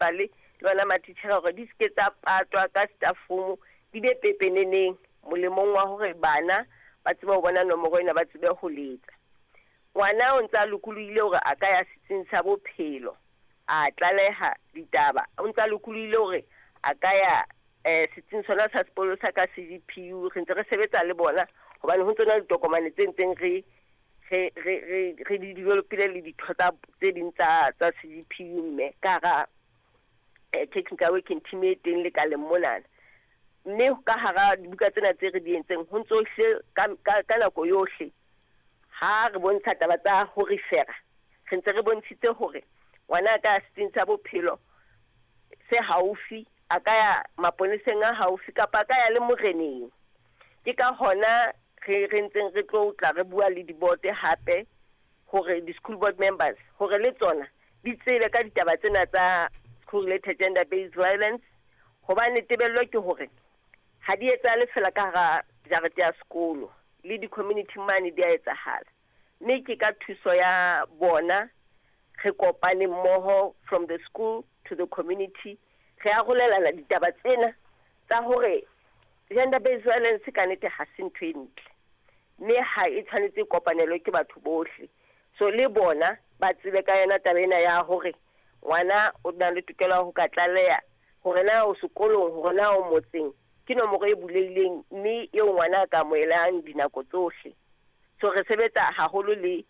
principal le bona matitjhere hore di seke tsa patwa ka staff room, di be pepeneneng molemong wa hore bana ba tsebe ho bona nomoro ena, ba tsebe ho letsa. Ngwana o ntse a lokolohile hore a ka ya setsing sa bophelo a tlaleha ditaba, o ntse a lokolohile hore a ka ya setsing sona sa sepolesa ka CDPU. Re ntse re sebetsa le bona hobane ho ntse na le ditokomane tse ntseng re di developile le ditho tsa tse ding tsa CDPU, mme ka hara technical working team e teng lekaleng monana. Mme ka hara dibuka tsena tse re di entseng ho ntso hle ka nako yohle ha re bontsha taba tsa ho refera, re ntse re bontshitse hore ngwana a ka setsing sa bophelo se haufi, a ka ya maponeseng a haufi kapa a ka ya le moreneng. Ke ka hona re ntseng re tlo tla re bua le dibote hape hore di-school board members hore le tsona di tsebe ka ditaba tsena tsa school related gender based violence, hobane tebello ke hore ha di etsahale fela ka hara jarete ya sekolo, le di-community mane di a etsahala. Mme ke ka thuso ya bona re kopane mmoho from the school to the community, re arolelana ditaba tsena tsa hore gender based violence ka nnete ha se ntho e ntle, mme ha e tshwanetse e kopanelwe ke batho bohle. So le bona ba tsebe ka yona taba ena ya hore ngwana o na le tokelo ya ho ka tlaleha hore na o sekolong, hore na o motseng, ke nomoro e bulehileng mme eo ngwana a ka amohelang dinako tsohle. So re sebetsa haholo le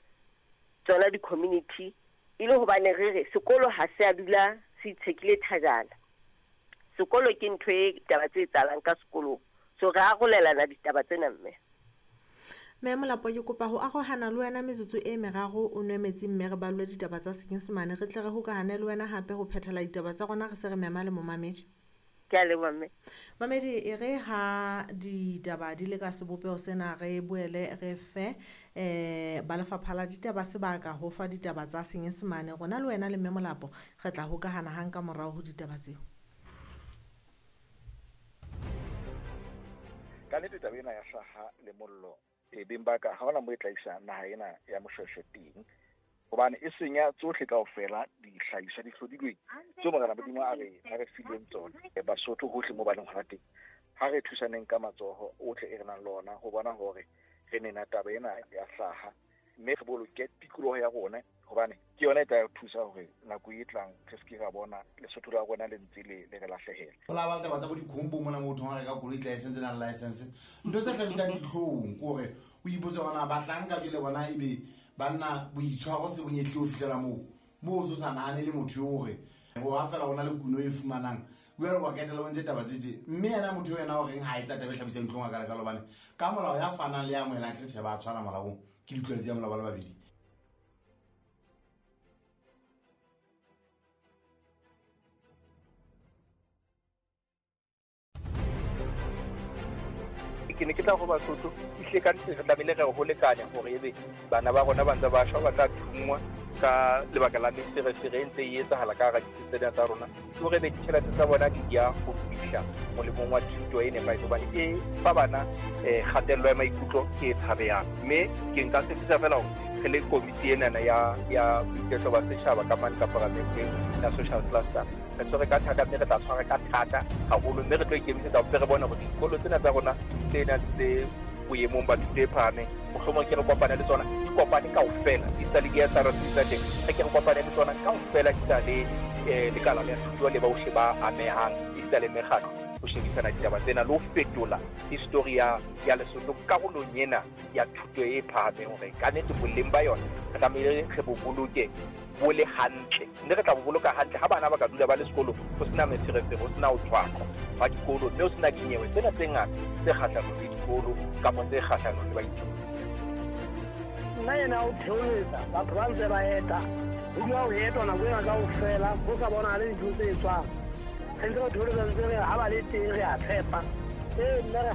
tsona di-community e le hobane re re sekolo ha se a dula se itshekile thajana. Sekolo ke ntho e taba tse etsahalang ka sekolong, so re arolelana ditaba tsena mme. Mme Molapo, ke kopa ho arohana le wena metsotso e meraro, o nwe metsi mme re ballwe ditaba tsa Senyesemane, re tle re hokahane le wena hape ho phethela ditaba tsa rona, re se re mema le momamedi. Ke a leboha mme. Mamedi, e re ha ditaba di le ka sebopeho sena, re boele re fe ba lefapha la ditaba sebaka ho fa ditaba tsa Senyesemane. Rona le wena le Mme Molapo re tla hokahana hang ka morao ho ditaba tseo. Ka nnete taba ena ya hlaha le mollo e beng ba ka ha hona mo e tla isa naha ena ya Moshweshwe teng, hobane e senya tsohle kaofela dihlahiswa di hlodilweng tseo Morena Modimo a re fileng tsona. Basotho hohle mo ba leng hona teng, ha re thusaneng ka matsoho ohle e re nang le ona ho bona hore re nena taba ena ya hlaha, mme re boloke tikoloho ya rona, hobane ke yona e tla thusa hore nako e tlang re se ke ra bona Lesotho la rona le ntse le re lahlehela. Ho la ba le taba tsa bo dikhombo mona motho ha reka koloi license na license, ntho tse hlabisang dihlong ke hore o ipotse hore na bahlanka jwale bona ebe banna boitshwaro se bonyehle ho fihlela moo moo o so sa nahane le motho eo hore ho ha fela hona le kuno e fumanang jwale wa ketela o ntse taba tse tje, mme yena motho eo yena o reng ha etsa taba e hlabisang dihlong a kalekalo, hobane ka molao ya fanang le ya amohelang ke tjhe ba tshwana molaong, ke ditlwaelo tsa molao ba le babedi. Ke ne ke tla go Basotho ehlile ka nnete re tlamehile re ho lekane hore ebe bana ba rona ba ntse ba shwa, ba tla thungwa ka lebaka la meferefere e ntse e etsahala ka hara ditsi tsena tsa rona, ke hore ebe ditjhelete tsa bona di ya ho fihla molemong wa thuto e nepahetseng, hobane e fa bana kgatello ya maikutlo e tshabehang. Mme ke nka tshepisa fela hore re le komiti enana ya boiketlo ba setjhaba ka mane ka paramenteng ya social cluster, re tshwere ka thata mme re tla tshwara ka thata haholo, mme re tlo ikemisetsa hore re bone hore dikolo tsena tsa rona tse nang tse boemong ba thuto e phahameng, mohlomong ke re kopane le tsona, di kopane kaofela, di sa le di-S_R_C tsa teng, re ke re kopane le tsona kaofela, di sa le lekala la thuto le bohle ba amehang, di sa le mekgatlo ho shebisana ditaba tsena le ho fetola history ya Lesotho karolong ena ya thuto e phahameng, hore ka nnete boleng ba yona re tlamehile re bo boloke bo le hantle, mme re tla bo boloka hantle ha bana ba ka dula ba le sekolo ho sena meferefere, ho sena ho tshwaqwa ba dikolo, mme ho sena dinyewe tsena tse ngata tse kgahlanong le dikolo kapa tse kgahlanong le baithuti. Nna yena o theoletsa batho ba ntse ba eta, ho dula ho etwa nako ena kaofela, ho sa bonahale dintho tse etswang. Re ntse re theoletsa ntse re ha ba le teng re a tshepa. Ee, nna re